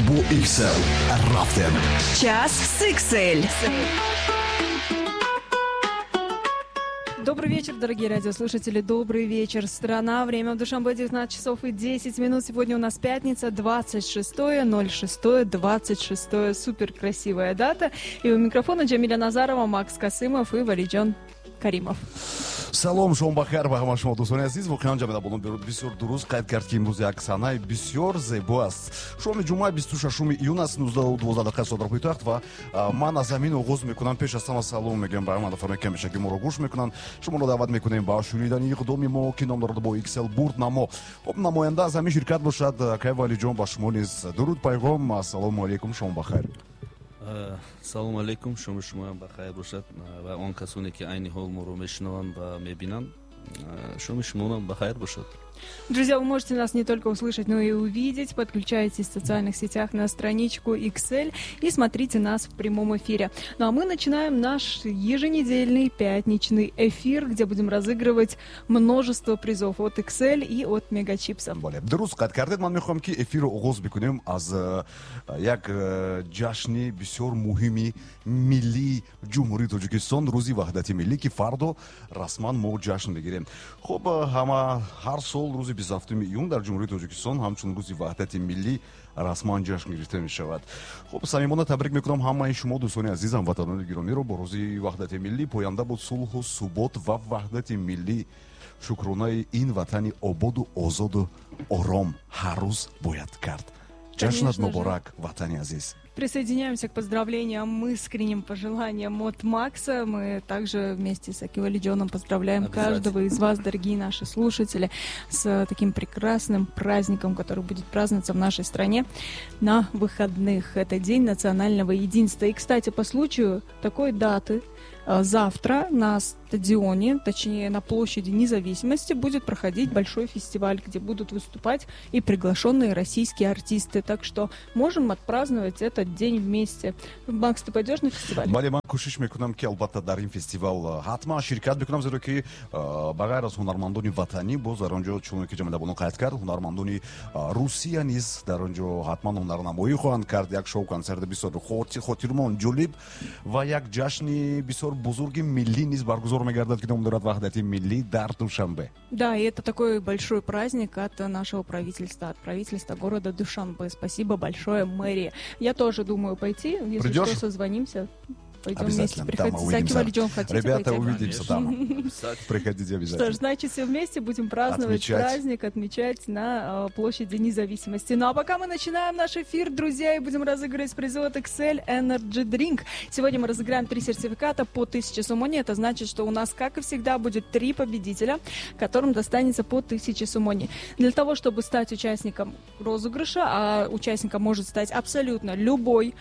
Бо XL рафтем. Час с XL. Добрый вечер, дорогие радиослушатели. Добрый вечер, страна. Время в Душанбе 19 часов и 10 минут. Сегодня у нас пятница, 26.06.26. Супер красивая дата. И у микрофона Джамиля Назарова, Макс Касымов и Валиджон Каримов. Салом, шом бахайр ба ҳама шумо, дӯстони азиз. Воқеан, Ҷамила бону бисёр дуруст қайд кард, ки имрӯз як санаи бисёр зебо аст. Шоми ҷумъа, 26 июн аст, 19:12 соат дар пойтахт. Ва ман аз ҳамин оғоз мекунам. Пеш аз ҳама салом мегӯям ба ҳама нафароне, ки ҳамешагӣ моро гӯш мекунанд. Шуморо даъват мекунем ба шунидани иқдоми мо, ки ном дорад «Бо XL бурд намо». Хуб, намоянда аз ҳамин ширкат бошад акай Валиҷон, ба шумо низ дуруд, пайғом. Ассалому алайкум, шом бахайр. Салому алейкум, шоми шумоям бахайр бошад ва он касоне, ки айни ҳол моро мешунаванд ва мебинанд, шоми шумоам бахайр бошад. Друзья, вы можете нас не только услышать, но и увидеть. Подключайтесь в социальных сетях на страничку XL и смотрите нас в прямом эфире. Ну а мы начинаем наш еженедельный пятничный эфир, где будем разыгрывать множество призов от XL и от Мегачипса. Бале, дуруст қайд кардед. Ман мехоҳам, ки эфирро оғоз бикунем аз як ҷашни бисёр муҳими миллии Ҷумҳурии Тоҷикистон, Рӯзи Ваҳдати Миллӣ, ки фардо расман мо ҷашн мегирем. Хуб, ҳама ҳар сол рӯзи 27 июн дар Ҷумҳурии Тоҷикистон ҳамчун Рӯзи Ваҳдати Миллӣ расман ҷашн гирифта мешавад. Хуб, самимона табрик мекунам ҳамаи шумо, дӯстони азиз, ҳамватанони гиромиро, бо Рӯзи Ваҳдати Миллӣ. Поянда буд сулҳу субот ва ваҳдати миллӣ. Шукронаи ин ватани ободу озоду ором ҳар рӯз бояд кард. Ҷашнат муборак, ватани азиз. Присоединяемся к поздравлениям, искренним пожеланиям от Макса. Мы также вместе с акай Валиджоном поздравляем каждого из вас, дорогие наши слушатели, с таким прекрасным праздником, который будет праздноваться в нашей стране на выходных. Это День национального единства. И, кстати, по случаю такой даты завтра на стадионе, точнее на площади Независимости, будет проходить большой фестиваль, где будут выступать и приглашенные российские артисты. Так что можем отпраздновать этот день вместе. Макс, ты пойдешь на фестиваль? Бале, ман кӯшиш мекунам, ки албатта дар ин фестивал ҳатман ширкат мекунам, зеро ки ба ғайр аз ҳунармандони ватанӣ, боз дар он ҷо, чуноне ки Ҷамила бону қайд кард, ҳунармандони Русия низ дар он ҷо ҳатман ҳунарнамоӣ хоҳанд кард. Як шоу консерти бисёр хотирмон, ҷолиб ва як ҷашни бисёр бузурги миллӣ низ баргузор мегардад, ки ном дорад Ваҳдати Миллӣ дар Душанбе. Да, и это такой большой праздник от нашего правительства, от правительства города Душанбе. Спасибо большое мэрии. Я тоже думаю пойти, если Придешь? Что, созвонимся. Пойдем вместе. Обязательно. Там Приходите. мы увидимся. Акай Валиджон, хотите Ребята, пойти? увидимся там. Приходите обязательно. Что ж, значит, все вместе будем праздновать Отмечать. Праздник, отмечать на площади Независимости. Ну а пока мы начинаем наш эфир, друзья, и будем разыгрывать призы от XL Energy Drink. Сегодня мы разыграем три сертификата по 1000 сомони. Это значит, что у нас, как и всегда, будет три победителя, которым достанется по 1000 сомони. Для того, чтобы стать участником розыгрыша, а участником может стать абсолютно любой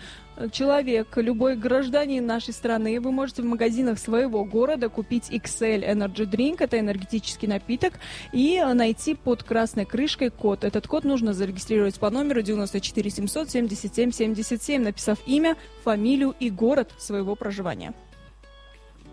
человек, любой гражданин нашей страны, вы можете в магазинах своего города купить XL Energy Drink, это энергетический напиток, и найти под красной крышкой код. Этот код нужно зарегистрировать по номеру 94 777 77, написав имя, фамилию и город своего проживания.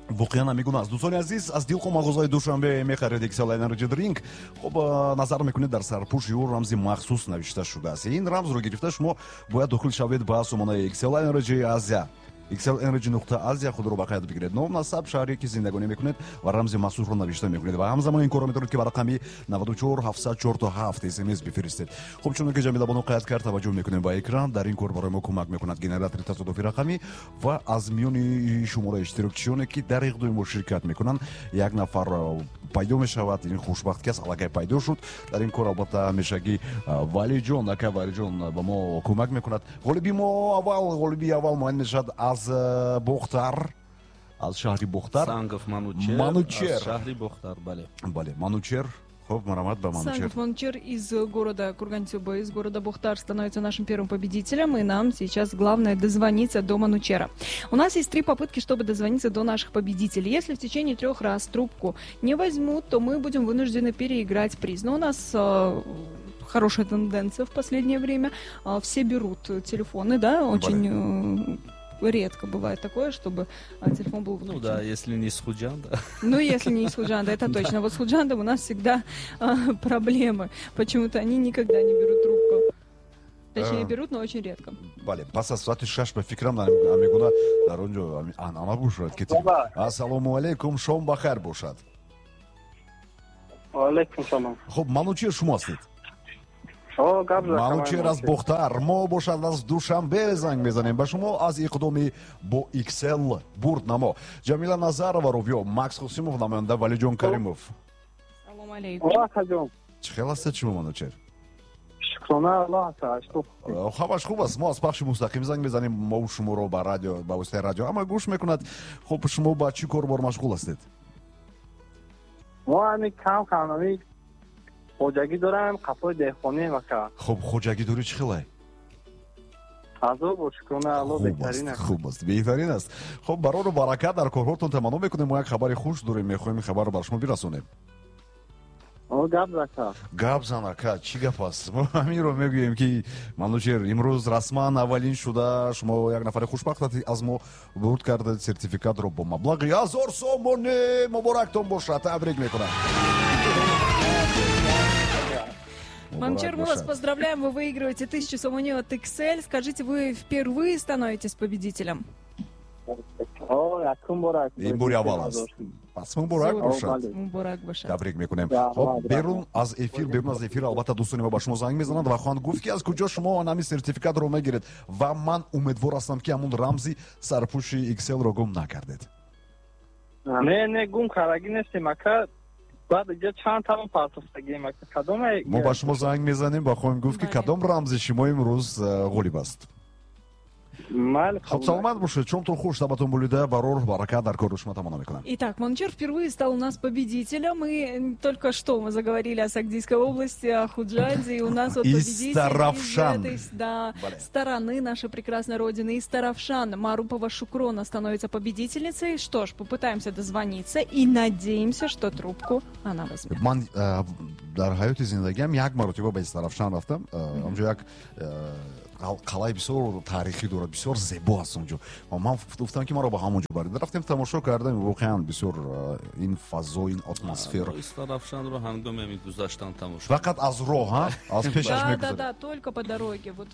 Воқеан ҳамин гуна аст, дӯстони азиз. Аз дилхоҳ мағозаи Душанбе мехаред XL Energy Drink. Хуб, назар мекунед, дар сарпӯши ӯ рамзи махсус навишта шудааст. Ин рамзро гирифта, шумо бояд дохил шавед ба сомонаи XL Energy Asia, xlenergy.asia, худро ба қайд бигиред, ном, насаб, шаҳре ки зиндагонӣ мекунед ва рамзи махсусро навишта мекунед. Ва ҳамзамон ин корро метавонед, ки ба рақами 94 747 смс бифиристед. Хуб, чуноне ки Ҷамила бону қайд кард, таваҷҷӯҳ мекунем ба экран. Дар ин кор барои мо кӯмак мекунад генератори тасодуфи рақамӣ ва аз миёни шумораи иштирокчиёне, ки дар иқдоми мо ширкат мекунанд, як нафар пайдо мешавад. Ин хушбахт кас аллакай пайдо шуд. Дар ин кор албатта ҳамешагӣ Валиҷон, ака Валиҷон ба мо кӯмак мекунад. Ғолиби мо аввал, ғолиби аввал муайян мешавад аз Бохтар, аз шаҳри Бохтар. Сангов Манучер. Манучер. Аз шаҳри Бохтар, бале. Бале, Манучер. Хуб, марҳамат ба Манучер. Сангов Манучер из города Кургантюба, из города Бохтар становится нашим первым победителем, и нам сейчас главное дозвониться до Манучера. У нас есть три попытки, чтобы дозвониться до наших победителей. Если в течение трех раз трубку не возьмут, то мы будем вынуждены переиграть приз. Но у нас хорошая тенденция в последнее время. Все берут телефоны, да, очень редко бывает такое, чтобы телефон был выключен. Ну да, если не с Худжанда. Ну, если не из Худжанда, это точно. Вот с Худжандом у нас всегда проблемы. Почему-то они никогда не берут трубку. Точнее, берут, но очень редко. Бале, пас аз соати 6 ба фикрам ҳамин гуна дар он ҷо анъана бошад ки. Ассалому алайкум, шом ба хайр бошад. Алайкум салом. Хуб, Манучер шумо ҳастед? Манучер аз Бохтар, мо бошад аз Душанбе занг мезанем ба шумо аз иқдоми бо XL бурд намо. Ҷамила Назарова, ровиё Макс Хусимов, намоянда Валиҷон Каримов. Салом алейкум. Чӣ хел ҳастед шумо, Манучер? Шукрона Аллоҳ. Ҳамаш хуб аст. Мо аз пахши мустақим занг мезанем, мо шуморо ба радио, ба воситаи радио ҳама гӯш мекунад. Хуб, шумо ба чӣ корбор машғул ҳастед? Мо ҳами кам кам ҳами хоҷагӣ дорам, қафои деҳқонӣ вака. Хуб, хоҷагидорӣ чӣ хелай? Азоб, шукрона Аллоҳ, беҳтарин аст. Хуб аст, беҳтарин аст. Хуб, барору баракат дар корҳотон таманно мекунем. Мо як хабари хуш дорем, мехоҳем ин хабарро бар шумо бирасонем. Гап зака. Гап зан, ака, чӣ гап аст? Мо ҳаминро мегӯем, ки, Манучер, имрӯз расман аввалин шуда шумо як нафари хушбахт аз мо бурд кардед сертификатро бо маблағи 1000 сомонӣ. Муборактон бошад, табрик мекунам. Манучер, мы вас поздравляем, вы выигрываете 1000 сомони от XL. Скажите, вы впервые становитесь победителем? Ин бори аввал аст, пас муборак бошад. Муборак бошад. Табрик мекунем. Хоб, берун аз эфир албатта дӯстони мо ба шумо занг мезананд ва хоҳанд гуфт, ки аз куҷо шумо ҳамин сертификатро мегиред, ва ман умедвор ҳастам, ки ҳамун рамзи сарпӯши XL-ро гум накардед. Не, не, гум кардагӣ нестем, ака. Баъд иҷа чанд тамон партофтагием, ака, кадоме? Мо ба шумо занг мезанем ва хоҳем гуфт, ки кадом рамзи шумо имрӯз ғолиб аст. Хуб, саломат бошед, шомтон хуш, табатон болида, барор баракат дар кори шумо таманно мекунам. Итак, Манучер впервые стал у нас победителем, и только что мы заговорили о Согдийской области, о Худжанде, и у нас вот победитель из этой, да, стороны нашей прекрасной родины, Истаравшан, Марупова Шукрона становится победительницей. Что ж, попытаемся дозвониться и надеемся, что трубку она возьмет. Ман дар ҳаёти зиндагиам як маротиба ба Истаравшан рафтам. Онҷо як қалъаи бисёр таърихӣ дорад, бисёр зебо аст онҷо. Ман гуфтам, ки маро ба ҳамон ҷо баред. Рафтем, тамошо кардем, воқеан бисёр ин фазо, ин атмосфера. Истаравшанро ҳангоми ҳамин гузаштан тамошо. Фақат аз роҳ, аз пешаш. Да, только по дороге, вот.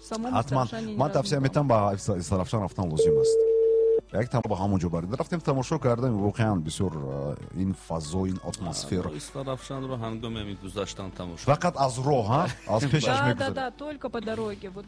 Ҳатман ман тавсия метам, ба Истаравшан рафтан лозим аст, як там ба ҳамон ҷо баред. Рафтем, тамошо кардем, воқеан бисёр ин фазо, ин атмосфера. Истаравшанро ҳангоми ҳамин гузаштан тамошо. Фақат аз роҳ, аз пешаш. Да, только по дороге, вот.